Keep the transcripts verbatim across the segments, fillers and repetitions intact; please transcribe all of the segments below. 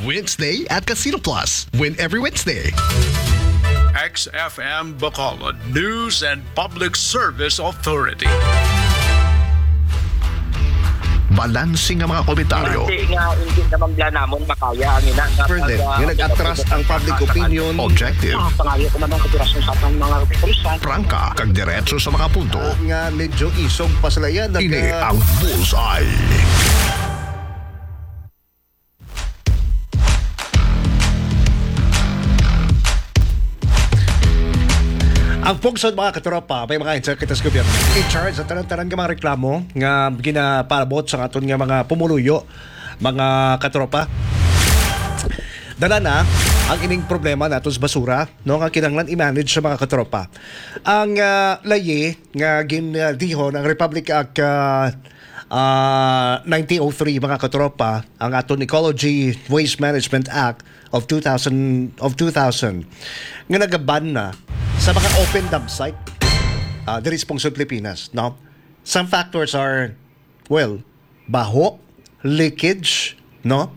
Wednesday at Casino Plus. Win every Wednesday. X F M Bacolod News and Public Service Authority. Balanse nga mga komentaryo. Hindi nga, hindi naman bala namon makaya ang ina nga Further, pag, ah, nga nag-atras ang public opinion. Objective. Ah, pangayo ko naman koperasyon sa atong mga kapulisan. Prangka, kag diretso sa mga punto. Ah, nga medyo isog pa sila yan. Ini ang Bullseye. Ang pungsod, mga katropa, may mga insert kita sa gobyerno. In charge sa tanan-tanan nga mga reklamo nga ginapaabot sa aton nga mga pumuluyo, mga katropa. Dala na ang ining problema nato sa basura, no, nga kinahanglan i-manage sa mga katropa. Ang, ah, layi nga gin, ah, dihon ang Republic Act, ah, ah, nineteen oh three, mga katropa, ang aton Ecology Waste Management Act of two thousand, of two thousand, nga nagaban na sa mga open dump site, ah, diri sa pungsod Pilipinas, no? Some factors are, well, baho, leakage, no?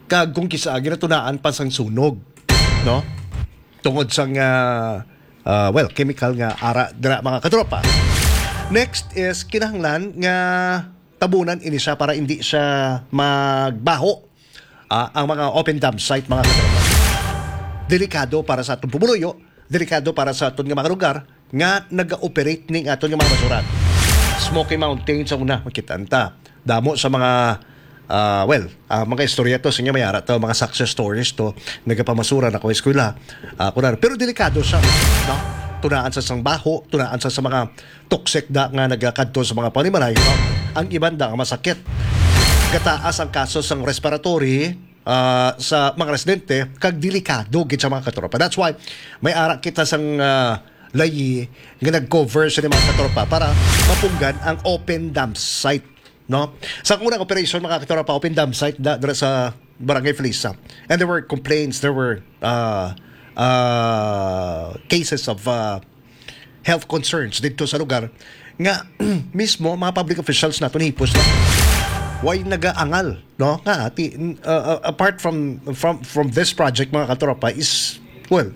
Kag kung kisa ginatunaan pa sang sunog, no? Tungod sang, ah, ah, well, chemical nga ara dira, mga katropa. Next is kinahanglan nga tabunan ini siya para hindi siya magbaho, ah, ang mga open dump site, mga katropa. Delikado para sa atong pumuluyo, delikado para sa aton nga mga lugar nga naga-operate ning aton nga mga basurahan. Smoky Mountains ang una, makita ta. Damo sa mga, ah, well, ah, mga istorya to, sa inyo may ara to, mga success stories to, nagapamasura na ko eskwela. Ah, kunan. Pero delikado siya, no? Tunaan sa sang baho, tunaan sa, sa mga toxic da nga nagakadto sa mga panimalay, no? Ang iban da nga masakit. Gataas ang kaso sang respiratory, ah, sa mga residente, kag delikado gid sa mga katropa. That's why may ara kita sang, ah, layi nga nag-cover sa mga katropa para mapunggan ang open dump site, no? Sa unang operation, mga katropa, open dump site da, dira sa Barangay Felisa. And there were complaints, there were, ah, ah, cases of, ah, health concerns dito sa lugar nga mismo mga public officials naton hipos na way nagaangal, no? Nga, ti-, uh, uh, apart from, from, from this project, mga katropa, is, well,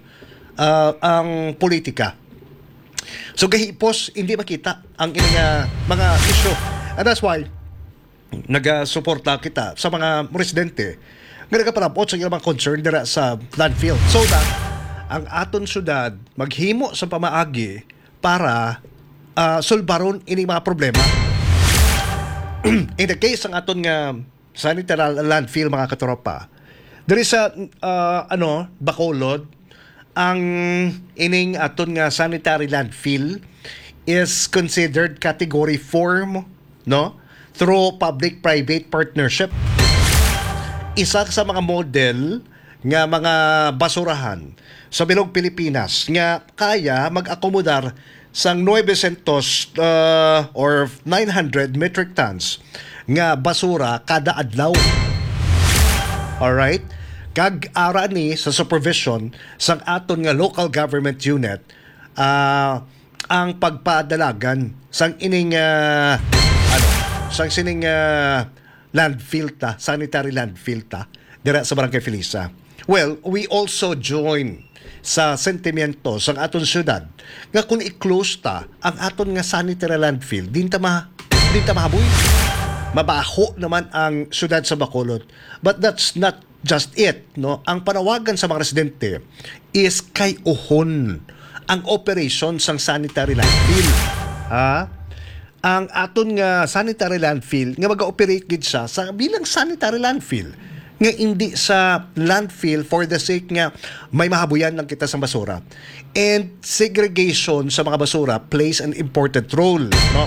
uh, ang politika. So, gahipos, hindi makita ang ining, uh, mga issue. And that's why, nagasuporta kita sa mga residente nga nagapalabot sa ilang mga concern dira sa landfill. So that ang aton syudad maghimo sa pamaagi para, ah, sulbaron ini mga problema. In the case sang aton nga sanitary landfill, mga katropa, diri sa, ah, ano, Bacolod, ang ining aton nga sanitary landfill is considered category four, no? Through public-private partnership. Isa sa mga model nga mga basurahan sa bilog Pilipinas nga kaya mag-akomodar sang nuebe siyentos, uh, or nine hundred metric tons nga basura kada adlaw. Alright? Kag ara ni sa supervision sang aton nga local government unit, ah, ang pagpadalagan sang ining, ah, ano, sang sining, ah, landfill ta, sanitary landfill ta, dira sa Barangay Felisa. Well, we also join sa sentimiento sang aton syudad nga kung i-close ta ang aton nga sanitary landfill, din ta ma-, din ta mahaboy. Mabaho naman ang syudad sa Bacolod. But that's not just it, no? Ang panawagan sa mga residente is kay-uhon ang operation sang sanitary landfill. Ha? Ang aton nga sanitary landfill nga mag-operate gid siya sa bilang sanitary landfill, nga indi sa landfill for the sake nga may mahabuyan lang kita sa basura. And segregation sa mga basura plays an important role, no,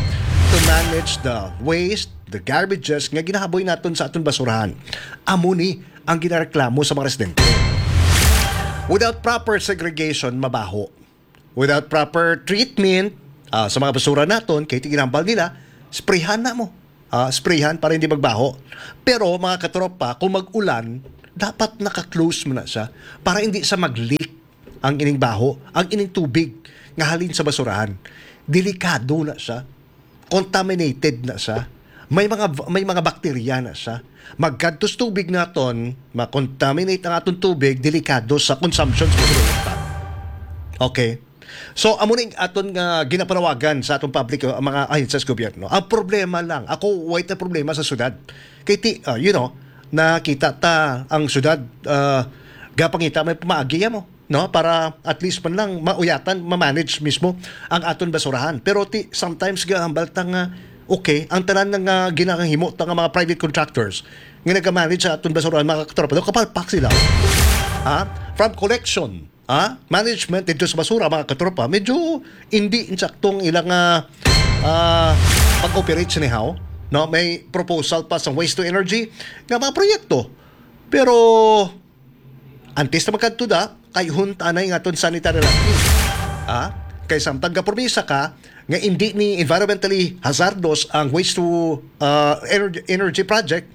to manage the waste, the garbages nga ginahaboy naton sa aton basurahan. Amo ni ang ginareklamo sa mga residente. Without proper segregation, mabaho. Without proper treatment, ah, sa mga basura naton, kay ginhambal nila, sprayhan na mo. Ah, sprayhan para hindi magbaho. Pero, mga katropa, kung mag-ulan, dapat naka-close mo na siya para hindi siya mag-leak ang ining baho, ang ining tubig nga halin sa basurahan. Delikado na siya. Contaminated na siya. May mga, may mga bakterya na siya. Magkadto sa tubig naton, ma-contaminate ang aton tubig, delikado sa consumption sa pagkakita. Okay. So, amo ning aton nga ginapanawagan sa atong public, uh, mga ahensya sa gobyerno. Ang problema lang, ako, wait na problema sa syudad. Kay ti, uh, you know, nakita ta ang syudad, uh, gapangita may pamaagi mo, no? Para at least man lang mauyatan, ma-manage mismo ang aton basurahan. Pero ti, sometimes gahambal ta nga, okay, ang tanan nga ginahimo ta nga mga private contractors nga nag-manage sa aton basurahan, mga katropa, daw kapalpak sila. Ha? From collection, ha? Management dito sa basura, mga katropa, medyo hindi insaktong ilang, ah, ah, pag-operate sinihaw, no? May proposal pa sa waste to energy nga mga proyekto. Pero antes na magkadto da, kay huntanay nga aton sanitary landfill. Ha? Kay samtang gapromisa ka nga hindi ni environmentally hazardous ang waste to, ah, energy, energy project,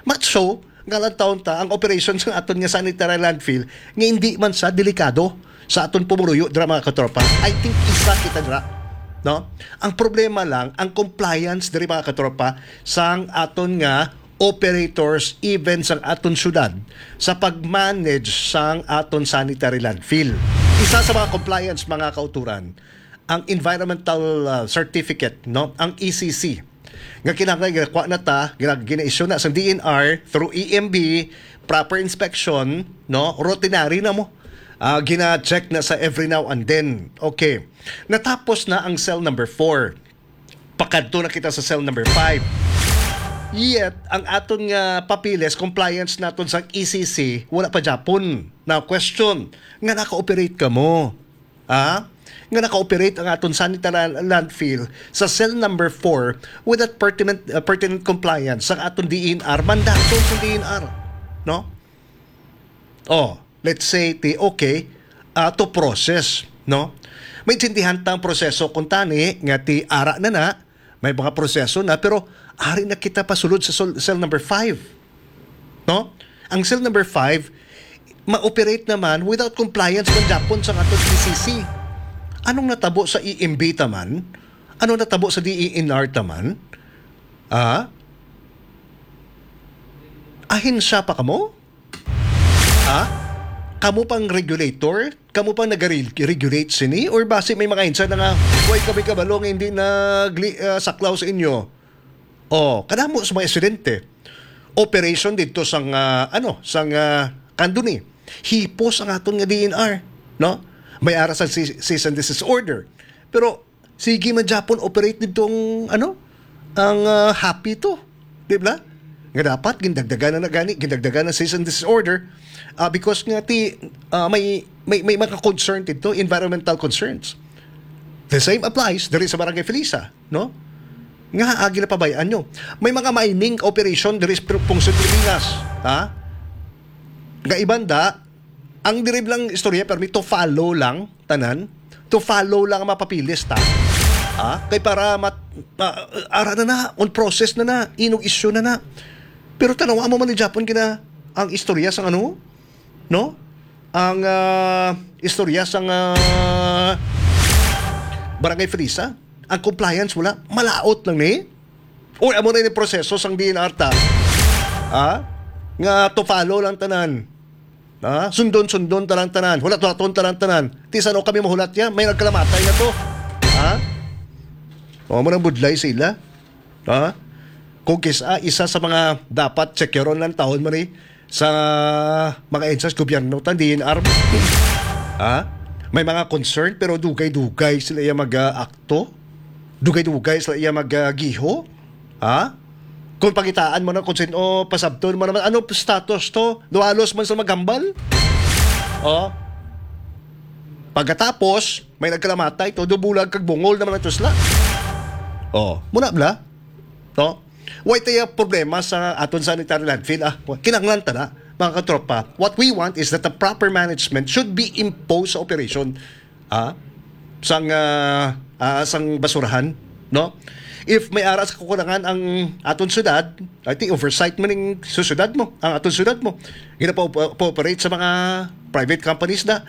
matso nga lang taon ta ang operation sa aton nga sanitary landfill nga hindi man sa delikado sa aton pumuluyo dira, mga katropa. I think isa kita dira, no? Ang problema lang ang compliance diri, mga katropa, sang aton nga operators, even sang aton syudad, sa pag-manage sang aton sanitary landfill. Isa sa mga compliance, mga kauturan, ang environmental, uh, certificate, no, ang E C C, nga kinahanglan ginakuha na ta, gina-, gina-issue na sa D N R through E M B, proper inspection, no, routinary na mo. Ah, gina-check na sa every now and then. Okay. Natapos na ang cell number four. Pakadto na kita sa cell number five. Yet, ang aton nga papeles, compliance naton sa E C C, wala pa gyapon. Now, question, nga naka-operate ka mo? Ha? Nga naka-operate ang aton sanitary landfill sa cell number four with that pertinent, uh, pertinent compliance sa aton D N R, mandato sa D N R, no? Oh, let's say, ti, okay, ah, to process, no? Maintindihan ta ang proseso kung tani nga ti ara na na, may mga proseso na, pero ari na kita pasulod sa sol-, cell number five, no? Ang cell number five, ma-operate naman without compliance man gyapon sa aton E C C. Anong natabo sa E M B taman? Anong natabo sa D E N R taman? Ah? Ahensya pa kamo? Ha? Kamo pang regulator? Kamo pang nag-regulate sini? Or basi may mga ahensya na nga, "Way kami kabalo nga hindi nagli-, ah, saklaw sa inyo"? Oh, kadamo sa mga insidente. Operation dito sang, ah, ano, sang, ah, kanduni. Hipos ang aton nga D N R, no? May ara sa ce-, cease and desist order. Pero sige man gyapon operate dito ang, ano, ang, ah, happy to, di ba? Nga dapat gindagdagan na, na gani, gindagdagan na cease and desist order, ah, because nga ti, ah, may, may, may mga concern dito, environmental concerns. The same applies diri sa Barangay Felisa, no? Nga agi na pabayaan nyo. May mga mining operation diri sa Pungso Pilipinas, ha? Nga ibanda, ang diri lang istorya, permi to follow lang, tanan. To follow lang ang mapapilis ta. Ha? Kay para mat-, ah, ara na na, on process na na, inog issue na na. Pero tanawa mo man ni Japon gina ang istorya sang ano, no? Ang, ah, istorya sang, ah, Barangay Felisa, ang compliance wala, malaot lang ni. Uy, amo na yung proseso sang D N R ta. Ha? Nga to follow lang tanan. Ha? Sundon-sundon talang tanan. Hulat-hulaton talang tanan. Ti sano kami mahulat niya? May nagkalamatay na to. Ha? O, mo nang budlay sila. Ha? Kung kisa, isa sa mga dapat sekyaron lang taon man eh, sa mga ahensya sa gobyerno, tan D N R. Ha? May mga concern, pero dugay-dugay sila iya mag-akto. Dugay-dugay sila iya mag-giho. Ha? Kung pakitaan mo na kung sino, pasabton mo naman, ano status to? Duhalos man sa maghambal? Oh. Pagkatapos, may nagkalamatay to, dubulag kag bungol naman ang tusla. Oh, muna bla? No? Why tayo problema sa aton sanitary landfill? Ah, kinahanglan ta na, mga katropa. What we want is that the proper management should be imposed sa operation, ah, sang, ah, ah, sang basurahan, no? If may ara sa kakulangan ang aton syudad, I think oversight man ning su-, syudad mo, ang aton syudad mo. Ginapa-, pa-operate sa mga private companies na.